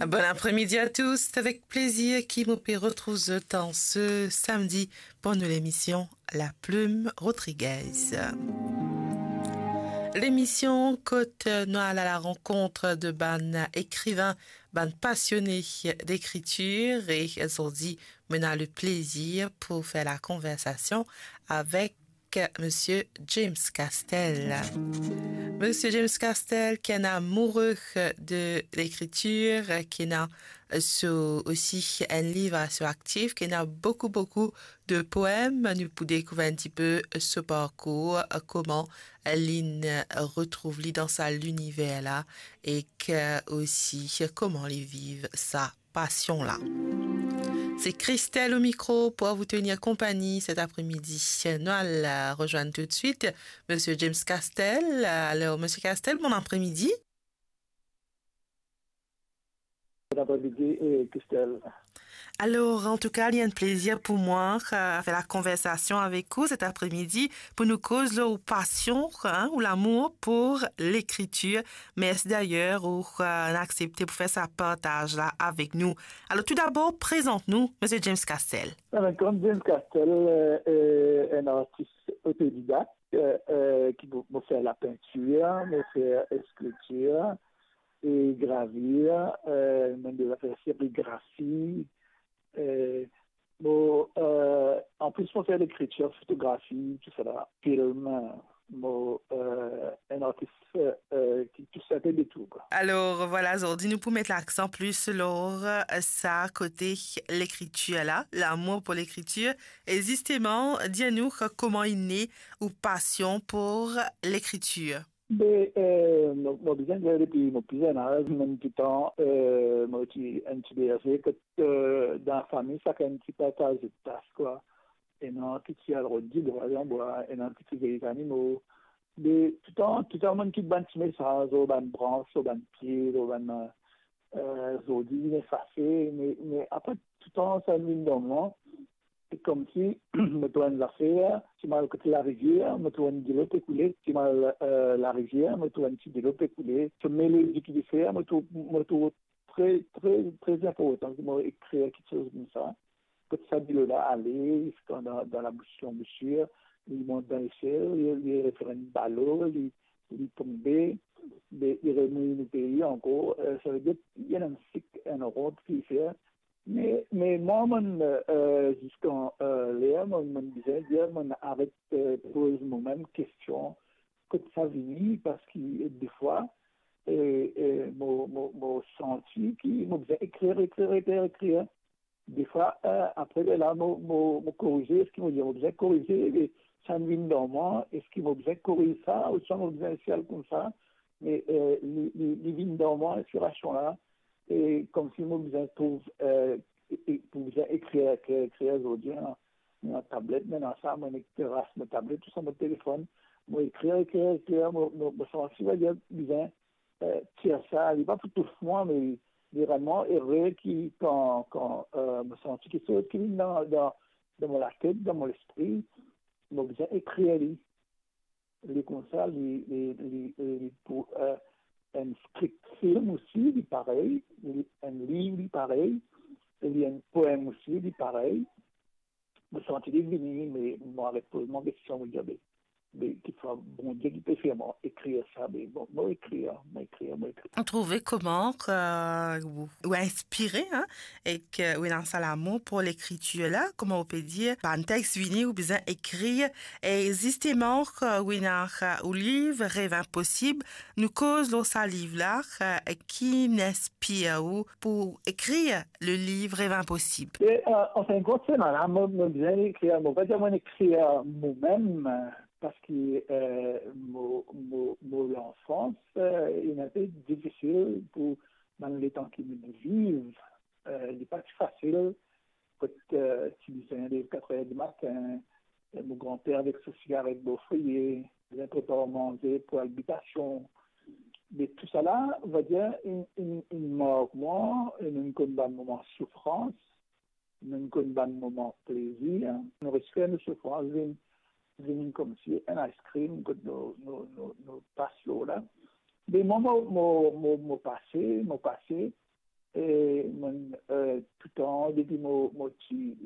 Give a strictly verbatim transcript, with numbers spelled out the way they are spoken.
Bon apremidi a tous, avek plezir ki mo pe retrouv zot an se samdi pou nou lemision La Plume Rodriguez. Lemision kot nou al a la rankont de bann ekrivin, bann pasione lekritir, e zordi mo ena le plezir pou fer la konversasion avek Misie James Castel. Misie James Castel, ki enn amoure de lekritir, ki ena so, osi enn liv so aktif, ki ena boukou, boukou de poem. Nou pou dekouver enn tipe so parkour, kouma linn retrouv li dan sa liniver la, ek osi kouma li viv sa pasion la. Se Christelle au micro pour vous tenir compagnie cet après-midi. Nou al rezwenn toutswit Misie James Castel. Alor, Misie Castel, bon apremidi. Bon apremidi, eh, Christelle. Alor, antouka, li enn plezir pou mwa, eh, fer la konversasion avek ou cet après-midi pou nou koz lor ou pasion, hein, ou lamour pou lekritir. Mersi dayer ou, eh, aksepte pou fer sa partaz la avek nou. Alor, toudabor, prezant nou, Misie James Castel. Alor, kouma James Castel, eh, eh, enn artis otodidak, eh, eh, ki mo, mo fer lapintir, mo fer eskiltir, e gravir, eh, mo ena zafer serigrafi, eh, mo, eh, anplis mo fer lekritir, fotografi, tousala, film, mo, eh, enn artis, eh, ki tous enpe de tou, kwa. Alor, vwala, zordi nou pou met laksan plis lor, eh, sa kote lekritir la, lamour pou lekritir. E zisteman, dir nou kouma inn ne ou pasion pou lekritir. Be, eh, mo, mo bizin dir depi mo pli zenn az, mo toultan, eh, mo ti enn ti berze, kot, eh, dan lafami, sakenn ti partaz zot tas, kwa. Ena ki ti al rod dibwa, dibwa, ena ki ti vey zanimo. Be, toultan, toultan mo'nn kit bann ti mesaz, lor bann brans, lor bann pie, lor bann, eh, zordi, vinn efase, me, me apre, toultan, sa vinn dan mwa, se koumsi mo trouv enn zafer, si mo al kote larivier, mo trouv enn dilo pe koule, si mo al, eh, larivier, mo trouv enn ti dilo pe koule. So melodi ki li fer, mo trouv, mo trouv tre, tre, tre inportan ki mo ekrir kiksoz koumsa. Kot sa dilo la ale, dan, dan labous lanbisir, li mont dan lesel, li, li fer enn balo, li, li tonbe, li, li remouy nou pei ankor. Eh, savedir, li ena enn sik, enn ront ki li fer, Me, me mwa, mo'nn, eh, ziska, eh, ler, mo'nn, mo'nn bizin dir, mo'nn aret, eh, poz momem kestion, kot sa vini, parski defwa, eh, eh, mo, mo, mo santi ki mo bizin ekrir, ekrir, ekrir, ekrir. Defwa, eh, apre lerla, mo, mo, mo korize, eski mo dir, mo bizin korize, e sa vinn dan mwa, eski mo bizin koriz sa, ouswa mo bizin les al koumsa, me, eh, li, li, li vinn dan mwa, inspirasion la, e koumsi mo bizin trouv, eh, e, e pou bizin ekrir, ekrir, ekrir zordi, ena, ena tablet, ena sa, mo ena teras, mo tablet, tousala, mo telefonn, mo ekrir, ekrir, ekrir, mo, mo, mo santi, va dir, bizin, eh, tir sa, li pa pou tous mwa, me li realman ere ki kan, kan, eh, mo santi kiksoz ki vinn dan, dan, dan mo latet, dan mo lespri, mo bizin ekrir li. Li koumsa, li, li, li, li pou, eh, enn script film osi, li parey, li, enn liv, li parey, li enn poem osi, li parey. Mo santi li vini, me mo aret poz mwa kestion, mo dir, be, be, kikfwa Bondie ki pe fer mwa ekrir sa, be, bon, mo ekrir, mo ekrir, mo ekrir. Ou trouve kouma, eh, ou, ou inspire, hein, ek ou ena sa lamour pou lekritir la, kouma ou pe dir, bann text vini, ou bizin ekrir, e zisteman, ou ena ou liv, Rev Inposib, nou koz lor sa liv la, ki inn inspir ou pou ekrir le liv Rev Inposib? E, eh, anfin kont, se la, mo, mo bizin ekrir, mo pa dir mo'nn ekrir momem, parski, eh, mo, mo, mo lanfans, eh, inn enpe difisil pou bann letan ki mo'nn viv, eh, li pa ti fasil, kot, eh, ti bizin lev katr er dimatin, eh, mo granper avek so sigaret bor foyer, bizin prepar manze pou al bitasion. Me tousala, va dir, inn, inn, inn mark mwa, e nou konn bann moman soufrans, nou konn bann moman plezir, nou res fer nou soufrans vinn, vinn koumsi enn ice cream kot nou, nou, nou, nou pas lor la. Me mwa, mo, mo, mo, mo pase, mo pase, E mo, eh, toutan depi mo, mo ti,